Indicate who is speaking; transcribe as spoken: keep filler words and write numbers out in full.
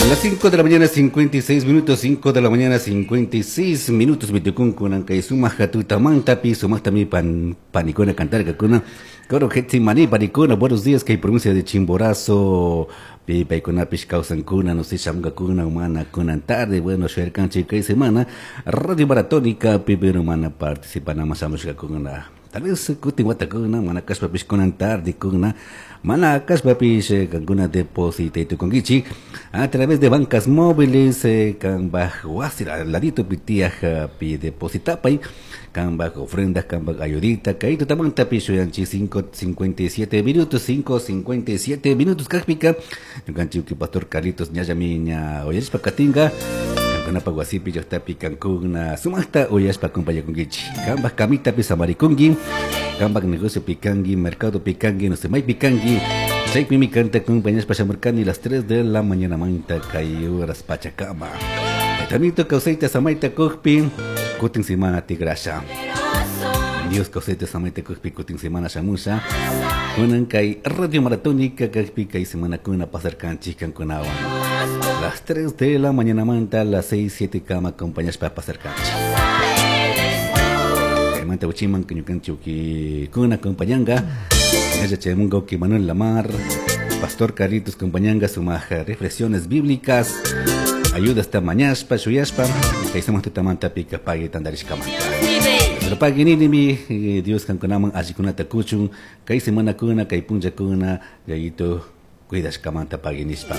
Speaker 1: Las cinco de la mañana, cincuenta y seis minutos, cinco de la mañana, cincuenta y seis minutos, mitukun kunan kay sumaq tutamantapi, sumaqtami pan, panikuna cantarkakuna, Coro Getsemani, panikuna, buenos días, kay provincia de Chimborazo, pi paykunapish kawsankuna, no sé, shamunkakuna, mana kunan tarde, bueno, shuyarkanchik kay semana, Radio Maratónica, pi pero mana participana shamushkakuna. Tal vez kutin watakuna, mana kashpapish kunan tarde kuna, mana kashpapish kankuna depositaytukunkichik a través de bancas móviles, eh, kanpaj wasi ladito pitiyaj pi depositapay, kanpaj ofrendas, kanpaj ayudita, kay tutamantapish shuyanchik cinco cincuenta y siete minutos, cinco cincuenta y siete minutos kajpika, ñukanchik pastor Carlitos ñallami ña uyarishpa katinka, kankunapaj wasipi llaqtapi kankuna sumaqta uyashpa acompañakunkichik, kanpaj kamitapi samarikunki, kanpaj negocio pikanki, mercado pikanki, no sé, maypi kanki, chaypimi kanta acompañashpa shamurkani las tres de la mañana manta kay horas pachakama. Tamito kawsayta samayta kujpi, kutin semana tigrasha. Dios kawsayta samayta kujpi, kutin semana shamusha. Kunan kay Radio Maratónica kajpi kay semana kuna pasarkanchik kankunawan. Las tres de la mañana manta, las seis, siete kama acompañashpa pasarkanchik. Manta uchiman ñukanchik kuna acompañanga. Ella chayamunga uki Manuel Lamar, Pastor Carlitos acompañanga sumaj reflexiones bíblicas. Ayuda hasta mañashpa, shuyashpa, kay sumaq tutamanta pika pagui tandarishkamanta. Pero pagui ninimi, Dios kankunaman allikunata kuchun, kay semana kuna, kay punlla kuna, yayito cuidashkamanta pagui nishpa.